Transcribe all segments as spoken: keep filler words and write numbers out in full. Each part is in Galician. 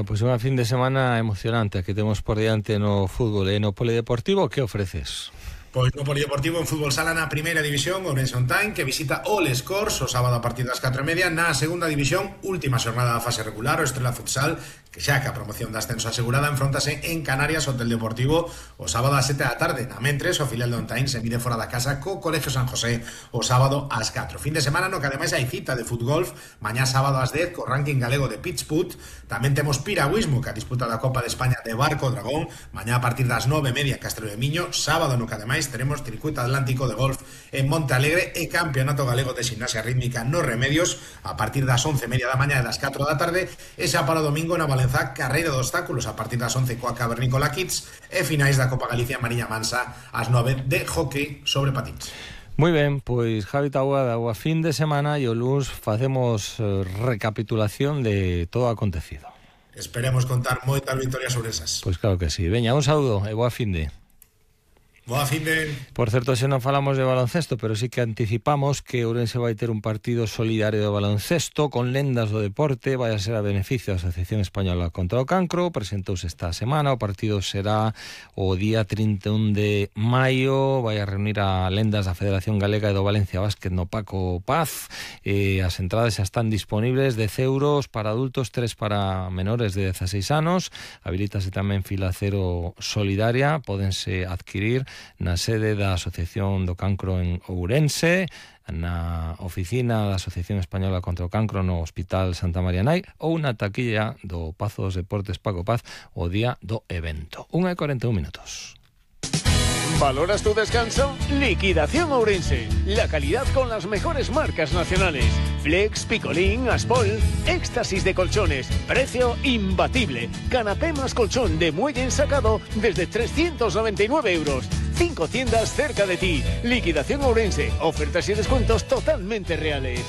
Pois unha fin de semana emocionante que temos por diante no fútbol e no polideportivo. Que ofreces? Pois no polideportivo en fútbol sala na primeira división, Ourense On Time, que visita o Les Corts o sábado a partir das catro e media. Na segunda división, última xornada da fase regular, o Estrela Futsal, que xa que a promoción de ascenso asegurada, enfrontase en Canarias o Hotel Deportivo o sábado a sete da tarde. Na mentres, o filial de On Time se mide fora da casa co Colegio San José o sábado ás catro. Fin de semana no que ademais hai cita de futgolf, mañá sábado ás dez co ranking galego de pitch put. Tamén temos piragüismo, que a disputa da Copa de España de Barco Dragón, mañá a partir das nove e media Castrelo de Miño. Sábado no que ademais teremos circuito atlántico de golf en Monte Alegre e campeonato galego de gimnasia rítmica nos Remedios a partir das once e media da mañá e das catro da tarde. E xa para o domingo na Valenzá, carreira de obstáculos a partir das once coa Cavernícola Kids e finais da Copa Galicia Mariña Mansa ás nove de hockey sobre patins. Moi ben, pois Javi Taboada, o fin de semana e o luns facemos eh, recapitulación de todo o acontecido. Esperemos contar moitas victorias sobre esas. Pois claro que sí. Veña, un saúdo e boa fin de... Boa fin de... Por certo, se non falamos de baloncesto, pero sí que anticipamos que Ourense vai ter un partido solidario de baloncesto con lendas do deporte, vai a ser a beneficio da Asociación Española contra o Cancro. Presentouse esta semana, o partido será o día trinta e un de maio, vai a reunir a lendas da Federación Galega e do Valencia Básquet no Paco Paz. E as entradas xa están disponibles, dez euros para adultos, tres para menores de dezaseis anos. Habilítase tamén fila cero solidaria, pódense adquirir na sede da Asociación do Cancro en Ourense, na oficina da Asociación Española contra o Cancro no Hospital Santa María Nai ou na taquilla do Pazo dos Deportes Paco Paz o día do evento. unha e cuarenta e un minutos. ¿Valoras tu descanso? Liquidación Ourense. La calidad con las mejores marcas nacionales. Flex, Picolín, Aspol, éxtasis de colchones. Precio imbatible. Canapé más colchón de muelle ensacado desde trescientos noventa y nueve euros. Cinco tiendas cerca de ti. Liquidación Ourense. Ofertas y descuentos totalmente reales.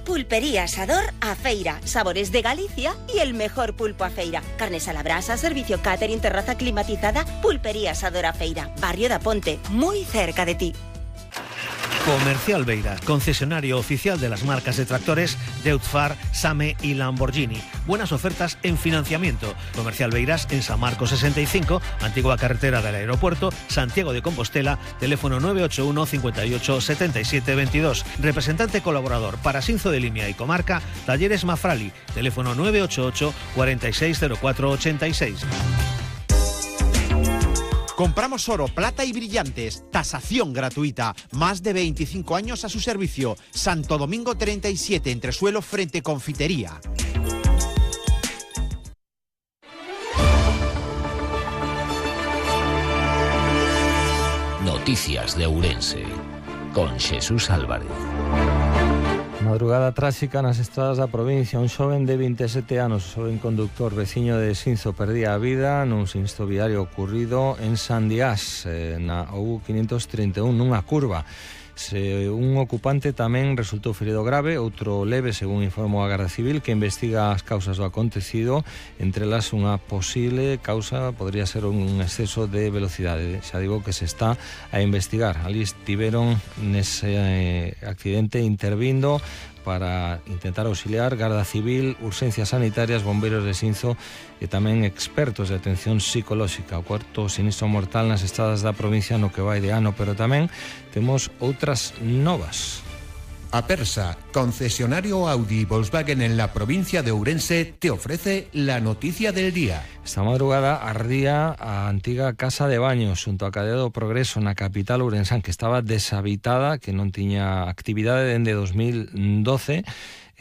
Pulpería Asador A Feira, sabores de Galicia y el mejor pulpo a feira. Carnes a la brasa, servicio catering, terraza climatizada. Pulpería Asador A Feira, barrio da Ponte, muy cerca de ti. Comercial Beiras, concesionario oficial de las marcas de tractores Deutz-Fahr, Same y Lamborghini. Buenas ofertas en financiamiento. Comercial Beiras en San Marcos sesenta y cinco, antigua carretera del aeropuerto, Santiago de Compostela, teléfono nueve ocho uno, cincuenta y ocho, setenta y siete veintidós. Representante colaborador para Sinzo de Limia y Comarca, Talleres Mafrali, teléfono nueve ocho ocho, cuarenta y seis cero cuatro ochenta y seis. Compramos oro, plata y brillantes. Tasación gratuita. Más de veinticinco años a su servicio. Santo Domingo treinta y siete, entresuelo frente Confitería. Noticias de Ourense con Xesús Álvarez. Madrugada tráxica nas estradas da provincia. Un xoven de vinte e sete anos, xoven conductor veciño de Sinzo, perdía a vida nun sinistro viario ocurrido en Sandiás, eh, na O U quinientos trinta e un, nunha curva. Se un ocupante tamén resultou ferido grave, outro leve, según informou a Garda Civil, que investiga as causas do acontecido. Entre elas, unha posible causa podría ser un exceso de velocidade. Xa digo que se está a investigar. Ali estiveron nese eh, accidente intervindo para intentar auxiliar Garda Civil, urxencias sanitarias, bombeiros de Sinzo e tamén expertos de atención psicolóxica. O cuarto sinistro mortal nas estradas da provincia no que vai de ano, pero tamén temos outras novas. Apersa, concesionario Audi y Volkswagen en la provincia de Ourense, te ofrece la noticia del día. Esta madrugada ardía a antiga casa de baños xunto a Cadea do Progreso na capital ourensán, que estaba deshabitada, que non tiña actividade dende dos mil doce.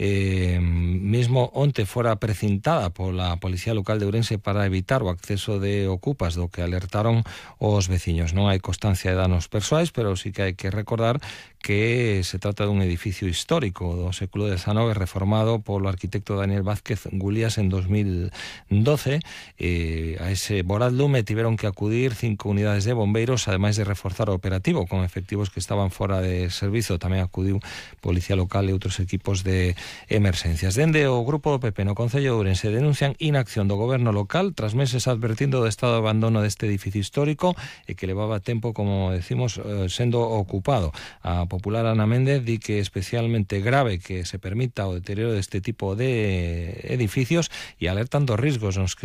Eh, mesmo onte fora precintada pola Policía Local de Ourense para evitar o acceso de ocupas, do que alertaron os veciños. Non hai constancia de danos persoais, pero sí que hai que recordar que se trata dun edificio histórico do século dezanove reformado polo arquitecto Daniel Vázquez Gulías en dos mil doce. Eh, a ese voraz lume tiveron que acudir cinco unidades de bombeiros, ademais de reforzar o operativo con efectivos que estaban fora de servizo. Tamén acudiu Policía Local e outros equipos de emerxencias. Dende o grupo do P P no Concello de Ourense denuncian inacción do goberno local tras meses advertindo do estado de abandono deste edificio histórico e que levaba tempo, como decimos, sendo ocupado. A popular Ana Méndez di que é especialmente grave que se permita o deterioro deste tipo de edificios e alertan dos risgos nos que